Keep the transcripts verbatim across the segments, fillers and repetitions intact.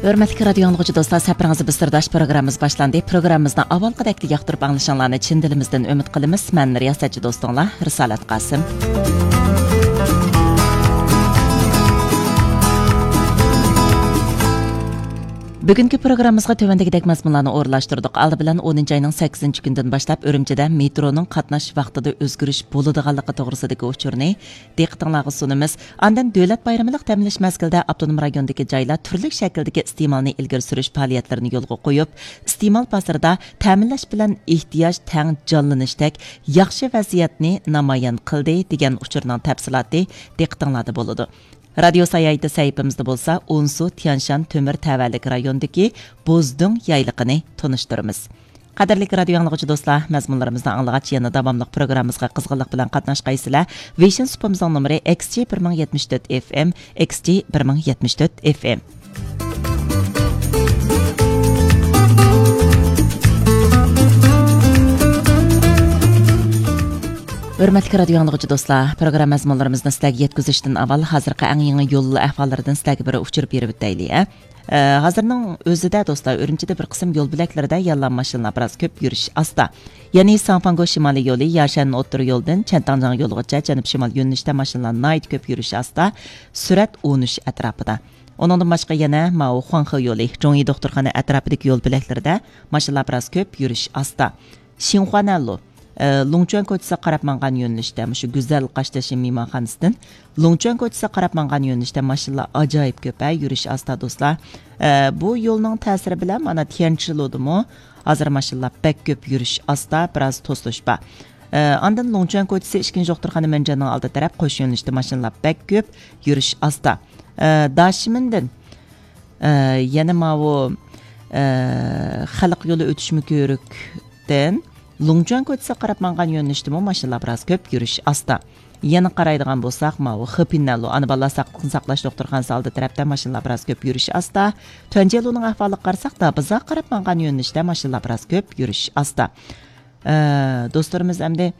ھۆرمەتلىك رادىيو ئاڭلىغۇچى دوستلار، سەپىرىڭىزدە بىز سىرداش پروگراممىمىز باشلاندى. پروگراممىمىزنى ئاۋۋالقىدەكلا ياقتۇرۇپ ئاڭلىشىڭلارنى چىن دىلىمىزدىن ئۈمىد قىلىمىز. مەن رىياسەتچى دوستۇڭلار رىسالەت قاسىم. بۈگۈنكى پروگراممىمىزغا تۆۋەندىكىدەك مەزمۇنلارنى ئورۇنلاشتۇردۇق. ئالدى بىلەن ئونىنچى ئاينىڭ سەككىزىنچى كۈنىدىن باشلاپ ئۈرۈمچىدە مېترونىڭ قاتناش ۋاقتىدا ئۆزگىرىش بولىدىغانلىقى توغرىسىدىكى ئۇچۇرنى دىققىتىڭلارغا سۇنىمىز. ئاندىن دۆلەت بايرىمىلىق دەم ئېلىش مەزگىلىدە ئاپتونوم رايوندىكى جايلار تۈرلۈك شەكىلدىكى ئىستېمالنى ئىلگىرى سۈرۈش پائالىيەتلىرىنى يولغا قويۇپ، ئىستېمال بازىرىدا تەمىنلەش بىلەن ئېھتىياج تەڭ جانلىنىشتەك ياخشى ۋەزىيەتنى نامايان قىلدى، دېگەن ئۇچۇرنىڭ تەپسىلاتى دىققىتىڭلاردا بولىدۇ. رادىيو ساياھىتى سەھىپىمىزدە بولسا ئونسۇ، تيەنشان تۆمۈر تەۋەلىك رايونىدىكى بوزدۈڭ يايلىقىنى تونۇشتۇرىمىز. قەدىرلىك رادىيو ئاڭلىغۇچى دوستلار، مەزمۇنلىرىمىزنى ئاڭلىغاچ، يەنە داۋاملىق پروگراممىمىزغا قىزغىنلىق بىلەن قاتناشقايسىلەر. ۋېيشىن سۇپىمىزنىڭ نومۇرى ئېكس جى بىر مىڭ يەتمىش تۆت ئېف ئېم، ئېكس جى بىر مىڭ يەتمىش تۆت ئېف ئېم. ھۆرمەتلىك رادىيو ئاڭلىغۇچى دوستلار، پروگرامما مەزمۇنلىرىمىزنى سىلەرگە يەتكۈزۈشتىن ئاۋۋال، ھازىرقى ئەڭ يېڭى يول ئەھۋاللىرىدىن سىلەرگە بىر ئۇچۇر بېرىپ ئۆتەيلى، ھە؟ ئە، ھازىرنىڭ ئۆزىدە دوستلار، ئۈرۈمچىدە بىر قىسىم يول بۆلەكلىرىدە يەنىلا ماشىنىلار بىراز كۆپ، يۈرۈش ئاستا. يەنى ساڭفاڭگو شىمالىي يولى ياشەن ئوتتۇرا يولدىن چەنتاڭجياڭ يولىغىچە جەنۇب شىمال يۆنىلىشتە ماشىنىلار ناھايىتى كۆپ، يۈرۈش ئاستا، سۈرئەت ئون ئۈچ ئەتراپىدا. ئۇنىڭدىن باشقا يەنە ماۋۇ خۇاڭخې يولى، جۇڭيى دوختۇرخانا ئەتراپىدىكى يول بۆلەكلىرىدە ماشىنىلار بىراز كۆپ، يۈرۈش ئاستا. شىنخۇانەنلۇ، ئە، لۇڭچۈەن كوچىسىغا قاراپ ماڭغان يۆنىلىشتە، مۇشۇ گۈزەل قاشتېشى مېھمانخانىسىدىن لۇڭچۈەن كوچىسىغا قاراپ ماڭغان يۆنىلىشتە ماشىنىلار ئاجايىپ كۆپ، ھە، يۈرۈش ئاستا، دوستلار. ئە، بۇ يولنىڭ تەسىرى بىلەن مانا تيەنچىلۇدىمۇ ھازىر ماشىنىلار بەك كۆپ، يۈرۈش ئاستا، بىراز توسۇلۇش بار. ئە، ئاندىن لۇڭچۈەن كوچىسى ئىككىنچى دوختۇرخانا مەنجاننىڭ ئالدى تەرەپ قوش يۆنىلىشتە ماشىنىلار بەك كۆپ، يۈرۈش ئاستا. ئە، داشىمىندىن، ئە، يەنە ماۋۇ، ئە، خەلق يولى ئۆتۈشمە كۆۋرۈكتىن لۇڭچۈەن كوچىسىغا قاراپ ماڭغان يۆنىلىشتىمۇ ماشىنىلار بىراز كۆپ، يۈرۈش ئاستا. يەنە قارايدىغان بولساق، ماۋۇ خېپىنەنلۇ، ئانا بالىلار ساقلىقنى ساقلاش دوختۇرخانىسى ئالدى تەرەپتە ماشىنىلار بىراز كۆپ، يۈرۈش ئاستا. تۈەنجيەنلۇنىڭ ئەھۋالىغا قارىساق، دابازاغا قاراپ ماڭغان يۆنىلىشتە ماشىنىلار بىراز كۆپ، يۈرۈش ئاستا. ئە، دوستلىرىمىز ئەمدى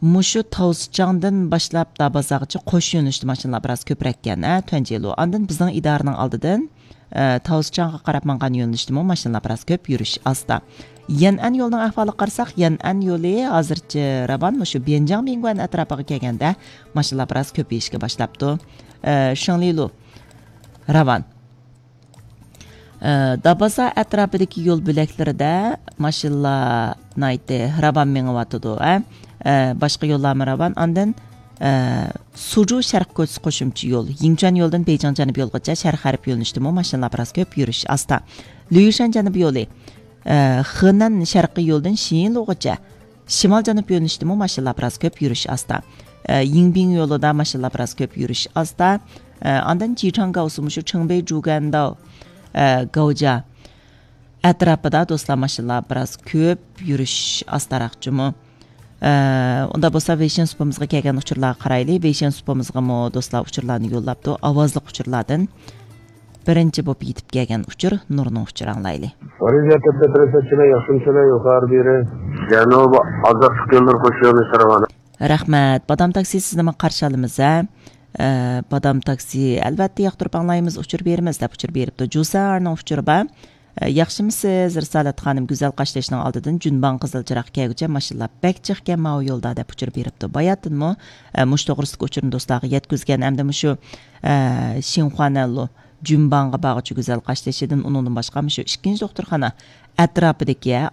مۇشۇ تاۋسىچاڭدىن باشلاپ دابازاغىچە قوش يۆنىلىشتە ماشىنىلار بىراز كۆپرەككەن، ھە، تۈەنجيەنلۇ. ئاندىن بىزنىڭ ئىدارىنىڭ ئالدىدىن، ئە، تاۋسىچاڭغا قاراپ ماڭغان يۆنىلىشتىمۇ ماشىنىلار بىراز كۆپ، يۈرۈش ئاستا. يەنئەن يولىنىڭ ئەھۋالىغا قارىساق، يەنئەن يولى ھازىرچە راۋان، مۇشۇ بيەنجياڭ مىڭگۈەن ئەتراپىغا كەلگەندە ماشىنىلار بىراز كۆپىيىشكە باشلاپتۇ. ئە، شېڭلىلۇ، راۋان. ئە، دابازا ئەتراپىدىكى يول بۆلەكلىرىدە ماشىنىلار ناھايىتى راۋان مېڭىۋاتىدۇ، ئە. ئە، باشقا يوللارمۇ راۋان. ئاندىن، ئە، سۇجۇ شەرق كوچىسى قوشۇمچە يول، يىڭچۈەن يولىدىن بېيجىڭ جەنۇب يولىغىچە شەرق غەرب يۆنىلىشتىمۇ ماشىنىلار بىراز كۆپ، يۈرۈش ئاستا. ليۇشەن جەنۇب يولى، ئە، خېنەن شەرقىي يولىدىن شىيىنلۇغىچە شىمال جەنۇب يۆنىلىشتىمۇ ماشىنىلار بىراز كۆپ، يۈرۈش ئاستا. ئە، يىڭبىڭ يولىدا ماشىنىلار بىراز كۆپ، يۈرۈش ئاستا. ئە، ئاندىن جىچاڭ گاۋسى، مۇشۇ چېڭبېي جۇگەنداۋ، ئە، گاۋجا ئەتراپىدا دوستلار ماشىنىلار بىراز كۆپ، يۈرۈش ئاستاراق جۇمۇ. ئە، ئۇنداق بولسا ۋېيشىن سۇپىمىزغا كەلگەن ئۇچۇرلارغا قارايلى. ۋېيشىن سۇپىمىزغىمۇ دوستلار ئۇچۇرلارنى يوللاپتۇ. ئاۋازلىق ئۇچۇرلاردىن بىرىنچى بولۇپ يېتىپ كەلگەن ئۇچۇر نۇرنىڭ ئۇچۇرى، ئاڭلايلى. ۋەزىيەتتە تەپرىسەتچىلەر ياخشىمۇسىلەر يۇقىرى بېرى. جەنۇب ئازادلىق يوللىرى قوشۇنى سىرغان. رەھمەت. بادام تاكسى سىزنىمۇ قارشى ئالىمىز، ھە؟ ئە، بادام تاكسى، ئەلۋەتتە ياقتۇرۇپ ئاڭلايمىز، ئۇچۇر بېرىمىز دەپ ئۇچۇر بېرىپتۇ. جۇسەرنىڭ ئۇچۇرى بار. ئە، ياخشىمۇسىز، رىسالەت خانىم؟ گۈزەل قاشتېشىنىڭ ئالدىدىن جۈنباڭ قىزىل چىراغ كەلگۈچە ماشىنىلار بەك جىقكەن ماۋۇ يولدا دەپ ئۇچۇر بېرىپتۇ. باياتىنمۇ، ئە، مۇشۇ توغرىسىدىكى ئۇچۇرنى دوستلارغا يەتكۈزگەن. ئەمدى مۇشۇ، ئە، شىنخۇانەنلۇ جۈنباڭغا بارغۇچە گۈزەل قاشتېشىدىن، ئۇنىڭدىن باشقا مۇشۇ ئىككىنچى دوختۇرخانا ئەتراپىدىكى، ھە،